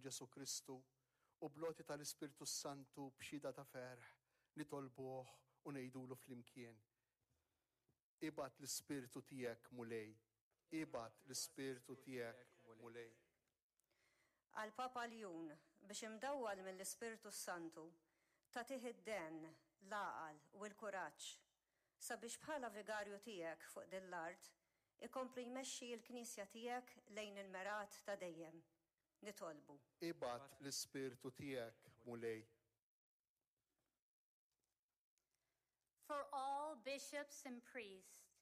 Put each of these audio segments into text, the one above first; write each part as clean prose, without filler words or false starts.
Ġesù Kristu, u bl-għoti tal-Ispirtu s-Santu b'xhieda ta' ferħ, nitolbuh u ngħidulu flimkien, Ibgħat l-Ispirtu tiegħek, Mulej. Ibgħat l-Ispirtu tiegħek, Mulej. Għall-Papa Ljun, biex imdawwal mill-Ispirtu s-Santu, tagħtih id-dehen, l-għaqal u l-kuraġġ, sabiex bħala Vigarju tiegħek fuq din l-art, ikompli jmexxi l-Knisja tiegħek lejn il-mergħat ta' dejjem. Nitolbu. Ibgħat l-Ispirtu tiegħek, Mulej. For all bishops and priests,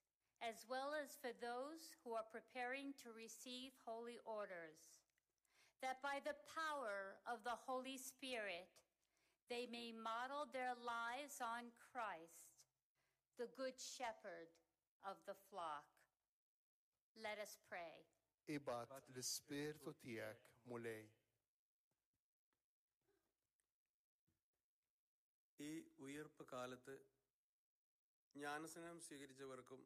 as well as for those who are preparing to receive holy orders, that by the power of the Holy Spirit they may model their lives on Christ, the Good Shepherd of the flock. Let us pray. Ibgħat l-Ispirtu tiegħek, Mulej. ഈ ഉയിർപ്പ് കാലത്ത് ജ്ഞാനസ്നാനം സ്വീകരിച്ചവർക്കും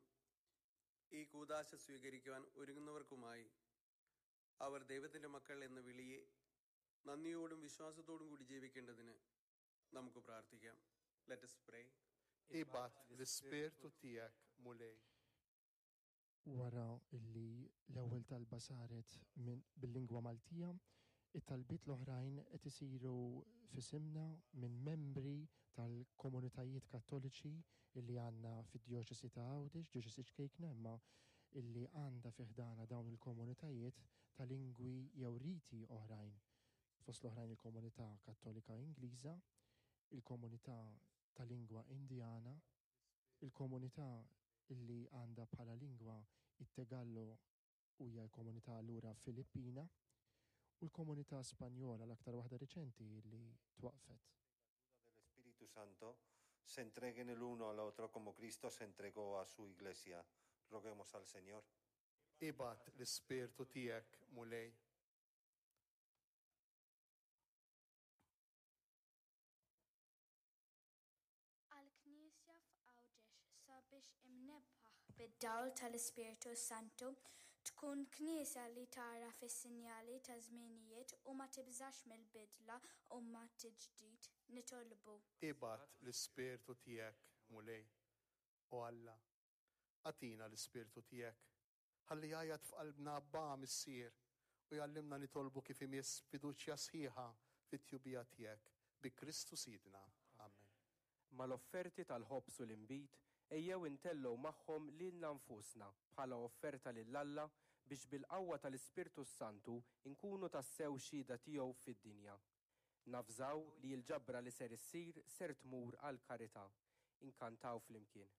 ഈ കൂദാശ സ്വീകരിക്കുവാൻ ഒരുങ്ങുന്നവർക്കുമായി അവർ ദൈവത്തിൻ്റെ മക്കൾ എന്ന വിളിയെ നന്ദിയോടും വിശ്വാസത്തോടും കൂടി ജീവിക്കേണ്ടതിന് നമുക്ക് പ്രാർത്ഥിക്കാം. Let us pray. Ibgħat l-Ispirtu tiegħek, Mulej. Wara li l-ewwel talba saret bil-lingwa Maltija, it-talbiet l-oħrajn qed isiru f'isimna minn membri tal-komunitajiet Kattoliċi li għandna fid-Djoċesi ta' Għawdex, djoċesi ċkejkna imma illi għandha fi ħdanha dawn il-komunitajiet ta' lingwi jew riti oħrajn, fost l-oħrajn il-komunità Kattolika Ingliża, il-komunità ta' lingwa Indjana, il-komunità li għandha bħala lingwa it-Tegallo u hija l-komunità allura Filippina, u l-komunità Spanjola l-aktar waħda riċenti li twaqqfet. del Espíritu Santo, se entreguen el uno al otro como Cristo se entregó a su Iglesia. Roguemos al Señor. Ibgħat l-Ispirtu tiegħek, Mulej. Għall-Knisja f'Għawdex sabiex imnebbaħ bid-dawl tal-Ispirtu s-Santu, tkun Knisja li tagħraf is-sinjali taż-żminijiet u ma tibżax mill-bidla u mat-tiġdid. Nitolbu. Ibgħat l-Ispirtu tiegħek, Mulej. O Alla, agħtina l-Ispirtu tiegħek. Ħalli jgħajjat f'qalbna Abbà, Missier, u jgħallimna nitolbu kif imiss b'fiduċja sħiħa fit-tjubija tiegħek, bi Kristu Sidna. Amen. Mal-offerti tal-ħobż u l-inbid, ejjew intellgħu magħhom lilna nfusna bħala offerta lil Alla biex bil-qawwa tal-Ispirtu s-Santu nkunu tassew xhieda tiegħu fid-dinja. Navżaw li l-ġabra li ser issir ser tmur għall-karità. Inkantaw flimkien.